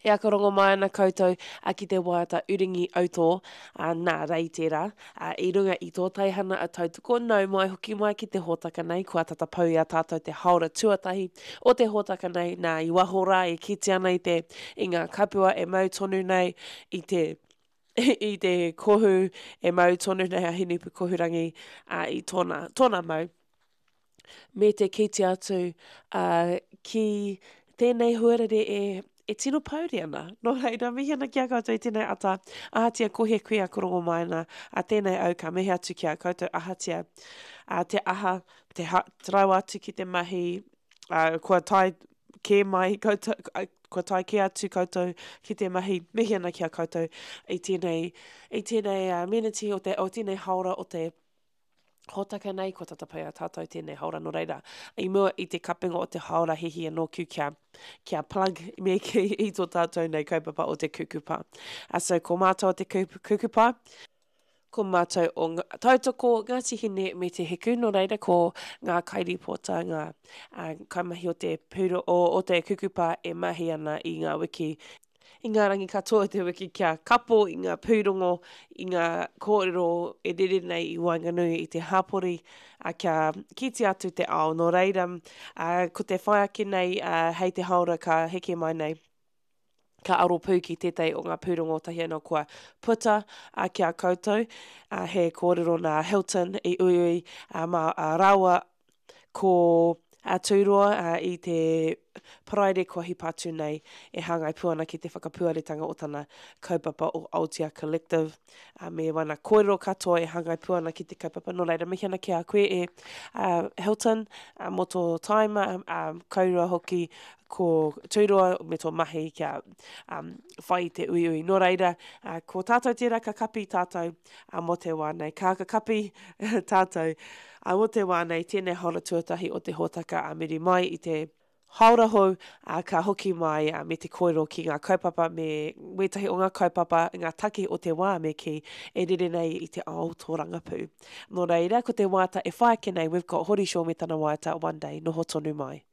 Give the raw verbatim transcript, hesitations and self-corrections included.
E aka rongo mai ana koutou a ki te waiata Uringi Autō, a, nā Rei tērā, a, i runga i tō teihana a Tautoko, nau mai hoki mai ki te hōtaka nei, kua tata pau i a tātou te haora tuatahi o te hōtaka nei, nā i waho rā e kite ana i te i ngā kapua e mau tonu nei i te i te kohu e mau tonu nei a Hinepukohurangi a, i tōna, tōna mau. Me te kite atu uh, ki tēnei huarere e, e tino pouri ana. Nō reira, mihi ana ki a koutou i tēnei ata. Ahatia ko he kuia korongo mai ana. A tēnei au ka mihi atu ki a koutou ahatia. A te aha, te, ha, te rawa atu ki te mahi, uh, kua tae kē mai koutou, kua tae kē atu koutou ki te mahi, mihi ana ki a koutou i tēnei, i tēnei uh, meneti o, te, o tēnei haora o te hōtaka nei, kua tata pai a tātou tēnei haora nō reira. I mua i te kapenga o te haora hihi anō ku kia, kia plug me ki i tō tātou nei kaupapa o te kukupa. Uh, so ko mātou o te kukupa, ko mātou o Tautoko, Ngāti Hine me Te Hiku, nō reira ko ngā kairipota, ngā uh, kaimahi o te, pūro, o, o te kukupa e mahi ana i ngā wiki i ngā rangi katoa o te wiki kia kapo i ngā pūrongo, i ngā kōrero e rere nei i waenganui i te hapori, a, kia kite atu te ao. Nō reira, a, ko te whai ake nei a, hei te haora ka heke mai nei, ka aro pū ki tētahi o ngā pūrongo tahi anō kua puta a, ki a koutou. A, he kōrero nā Hilton i uiui a, mā a, rāua ko a Tūroa a, i te Paraire kua hipa atu nei e hāngai pū ana ki te whakapuaretanga o tana kaupapa o Aotea Collective a, me wana kōrero katoa e hāngai pū ana ki te kaupapa. Nō reira, mihi ana ki a koe e uh, Hilton uh, mō tō taima, um, kaurua hoki ko Tūroa me tō mahi kia um, whai i te uiui. Nō reira, uh, ko tātou tērā ka kapi tātou uh, mō te wā nei. Ka ka kapi tātou uh, mō te wā nei, tēnei haora tuatahi o te hōtaka a muri mai i te haora hou, uh, ka hoki mai uh, me te kōrero ki ngā kaupapa me wētahi o ngā kaupapa, ngā take o te wā me ki e rere nei i te ao tōrangapū. Nō reira, ko te waiata e whai ake nei, we've got Hori Shaw me tana waiata One Day, noho tonu mai.